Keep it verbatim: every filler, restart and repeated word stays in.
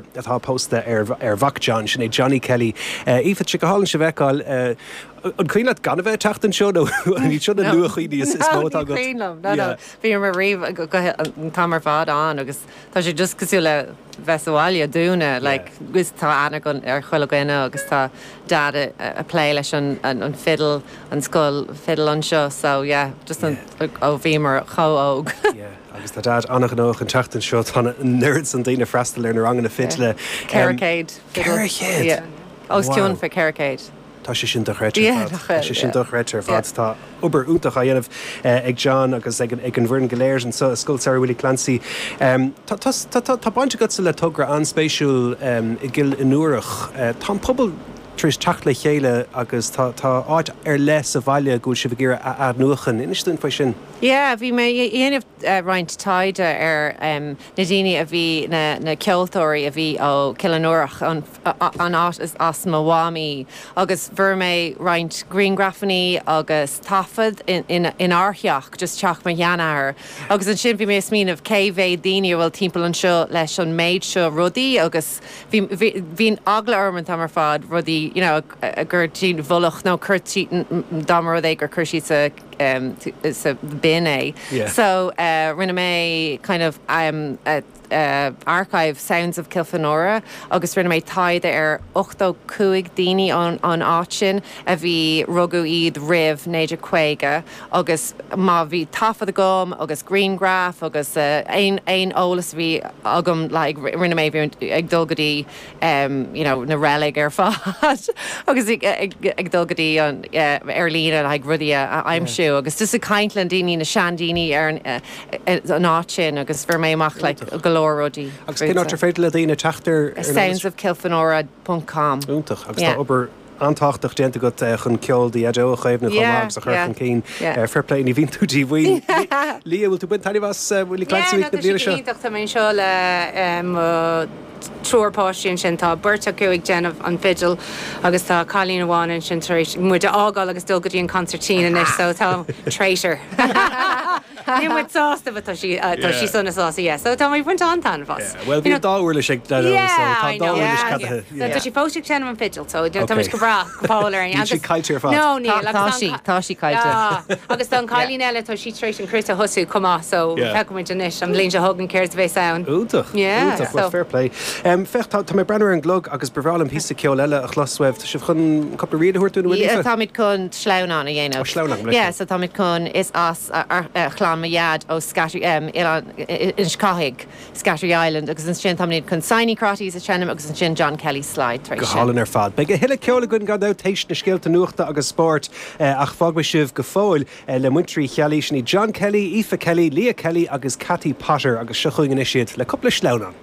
atá pósta ar ar mhac John sin é Johnny Kelly. Aoife sé go hálainn sibh a fheiceáil an cuimhin leat gan a bheith teacht anseo nó ní seo na luachuimhní is mó atá agat. Bhí mar riamh an t-am ar fad ann agus tá sé just cosúil le bheith sa bhaile dúinne like agus tá aithne ar chuile dhuine agus tá dad ag plé leis an an fiddle an scoil fiddle anseo so yeah just an ó bhí mar chomh óg. Agus tá dad an-ghnóthach an tseachtain seo tá an oiread san daoine freastal ar na ranganna fidle. Ceithre chéad. Ceithre chéad? Os cionn fé ceithre chéad. Tá sé sin dochreidte ar fad. Tá sé sin dochreidte ar fad. Tá obair iontach á dhéanamh ag John agus ag an bhfoireann go léir anseo i Scoil Samhraidh Willie Clancy. Tá baint agatsa le togra an-spéisiúil i gCill Fhionnúrach. Tá an pobal tar éis teacht le chéile agus tá áit ar leith sa bhaile go bhfuil sibh ag iarraidh a athnuachan. Inis dúinn faoi sin. Yeah, bhí mé ag déanamh roinnt taighde ar na daoine a bhí na na ceoltóirí a bhí ó Cill Fhionnúrach an an áit is as mo mhamaí agus fuair mé roinnt grianghrafanna agus taifead in in in ár theach just teach mo sheanathair agus ansin bhí mé ag smaoineamh cé mhéad daoine a bhfuil timpeall anseo leis an méid seo rudaí agus bhí bhí bhí eagla orm an t-am ar fad rudaí you know gur i bhfolach nó cur dá mba rud é gur chuir siad sa um, sa bin é. Yeah. So uh, rinne mé kind of um, uh, uh, archive Sounds of Kilfenora agus rinne mé taighde ar ochtó cúig daoine an an áit sin a bhí rugadh iad roimh naoi déag caoga agus má bhí taifead agam agus grianghraf agus uh, aon aon eolas bhí agam like, rinne mé ag dul go dtí um, you know, na reilig ar fad agus ag, ag, ag dul go dtí an uh, ar líne like, rudaí a aimsiú agus just ag caint le daoine na seandaoine ar an, uh, an áit sin agus fuair mé amach like, go leor rudaí. Agus cén áit ar féidir le daoine teacht ar soundsofkilfenora.com. Iontach agus tá obair an-tábhachtach déanta agat chun ceol do dhaideo a chaomhnú chomh maith agus a chur chun cinn fair play ní bhíonn tú díomhaoin. Lia bhfuil tú ag baint taitneamh as Willie Clancy Week na bliana seo? Tá mé seo le triúr páistí ansin tá beirt acu ag déanamh an fidil agus tá cailín amháin ansin tar éis muid a fhágáil agus dul go dtí an concertina anois so tá traitor. Ní muid sásta tá sí tá sí sona sásta yeah. So tá mé ag baint an-taitneamh as. Well bhí dá uirlis ag so tá dá uirlis ceadaithe. Tá sí fós ag seinm an fidil so tá go breá go fóill ar Níl sí caillte ar fad. No níl Tá sí tá sí caillte. Agus tá an cailín eile tá sí tar éis an cruit a thosú chomh maith so feicfimid anois an bhliain seo chugainn céard a bheas ann. Iontach iontach well fair play. Um, féach tá mé ag breathnú ar an gclog agus ba bhreá liom píosa ceoil eile a chlos uaibh. Tá sibh chun cúpla ríl a thabhairt dúinn bhfuil Aoife? Táimid chun sleamhnán a dhéanamh. Ó sleamhnán, Yeah, so táimid chun is as chlann mo dhaid ó Scattery um, Inis Cathaigh, Scattery Island agus ansin táimid chun Signy Crotties a sheinm agus ansin John Kelly Slide tar Go éis sin. hálainn ar fad. Beidh a thuilleadh ceoil againn gan dabht théis na scéalta nuachta agus spóirt ach fágfaidh sibh go fóill le muintir Uí Cheallaigh sin iad John Kelly, Aoife Kelly, Leah Kelly agus Cathy Potter agus seo chugainn anois iad le cúpla sleamhnán.